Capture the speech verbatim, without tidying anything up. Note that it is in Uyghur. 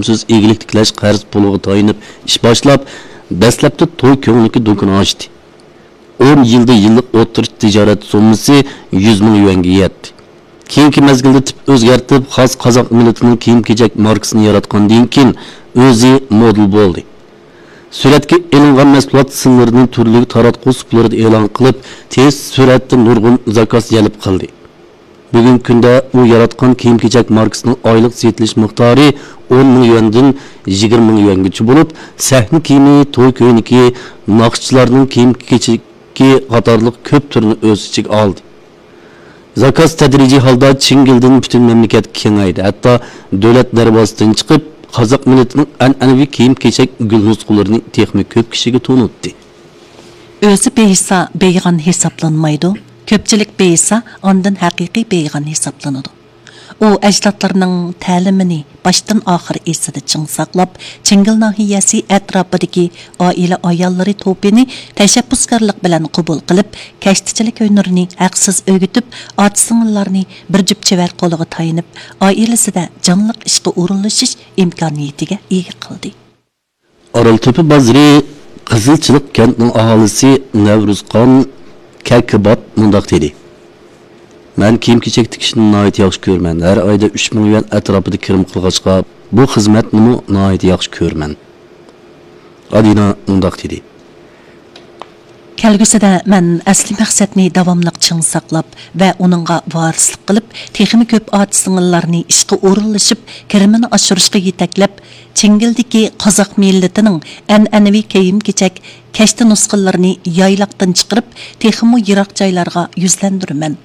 تەلەپسىز ئىگىلىك تىكلەش قەرز پۇلىغا تايىنىپ ئىش باشلاپ، دەسلەپتە توي كۆڭلىكى دۇكىنى ئاچتى. ئون يىلدا يىللىق ئوتتۇرىچە تىجارەت سوممىسى يۈز مىڭ يۈەنگە يەتتى. كېيىنكى مەزگىلدە تىپ ئۆزگەرتىپ، خاس قازاق مىللىتىنىڭ كىيىم-كېچەك ماركىسىنى ياراتقاندىن كېيىن، ئۆزى مودېل بولدى. سۈرەتكە ئېلىنغان مەھسۇلات سىنلىرىنى تۈرلۈك تاراتقۇ سۇپىلىرىدا ئېلان قىلىپ، تېز سۈرئەتتە نۇرغۇن زاكاز جەلپ قىلدى. بۈگۈنكى كۈندە ئۇ ياراتقان كىيىم-كېچەك ماركىسىنىڭ ئايلىق سېتىلىش مىقدارى ئون مىڭ يۈەندىن يىگىرمە مىڭ يۈەنگىچە بولۇپ، سەھنە كىيىمى، توي كۆينىكى، ناخشىچىلارنىڭ كىيىم-كېچىكى قاتارلىق كۆپ تۈرنى ئۆز ئىچىگە ئالدى. زاكاز تەدرىجىي ھالدا چىڭگىلدىن پۈتۈن مەملىكەتكە كېڭەيدى، ھەتتا دۆلەت دەرۋازىسىدىن چىقىپ، قازاق مىللىتىنىڭ ئەنئەنىۋى كىيىم-كېچەك گۈل نۇسخىلىرىنى تېخىمۇ كۆپ كىشىگە تونۇتتى. ئۆزى بېيىسا بېيىغان ھېسابلانمايدۇ، كۆپچىلىك بېيىسا ئاندىن ھەقىقىي بېيىغان ھېسابلىنىدۇ. ئۇ ئەجدادلىرىنىڭ تەلىمىنى باشتىن ئاخىر ئېسىدە چىڭ ساقلاپ، چىڭگىل ناھىيەسى ئەتراپىدىكى ئائىلە ئاياللىرى توپىنى تەشەببۇسكارلىق بىلەن قوبۇل قىلىپ، كەشتىچىلىك ھۈنىرىنى ھەقسىز ئۆگىتىپ، ئاچا-سىڭىللارنى بىر جۈپ چېۋەر قولىغا تايىنىپ، ئائىلىسىدە جانلىق ئىشقا ئورۇنلىشىش ئىمكانىيىتىگە ئىگە قىلدى. ئارالتۆپە بازىرى قىزىلچىلىق كەنتىنىڭ ئاھالىسى نەۋرۇزخان كەكىبات مۇنداق دېدى: مەن كىيىم-كېچەك تىكىشنى ناھايىتى ياخشى كۆرىمەن. ھەر ئايدا ئۈچ مىڭ يۈەن ئەتراپىدا كىرىم قىلغاچقا، بۇ خىزمەتنىمۇ ناھايىتى ياخشى كۆرىمەن. ئادىنا مۇنداق دېدى. كەلگۈسىدە مەن ئەسلىي مەقسەتنى داۋاملىق چىڭ ساقلاپ ۋە ئۇنىڭغا ۋارىسلىق قىلىپ، تېخىمۇ كۆپ ئاچا-سىڭىللارنى ئىشقا ئورۇنلىشىپ، كىرىمىنى ئاشۇرۇشقا يېتەكلەپ، چىڭگىلدىكى قازاق مىللىتىنىڭ ئەنئەنىۋى كىيىم-كېچەك، كەشتە نۇسخىلىرىنى يايلاقتىن چىقىرىپ، تېخىمۇ يىراق جايلارغا يۈزلەندۈرىمەن.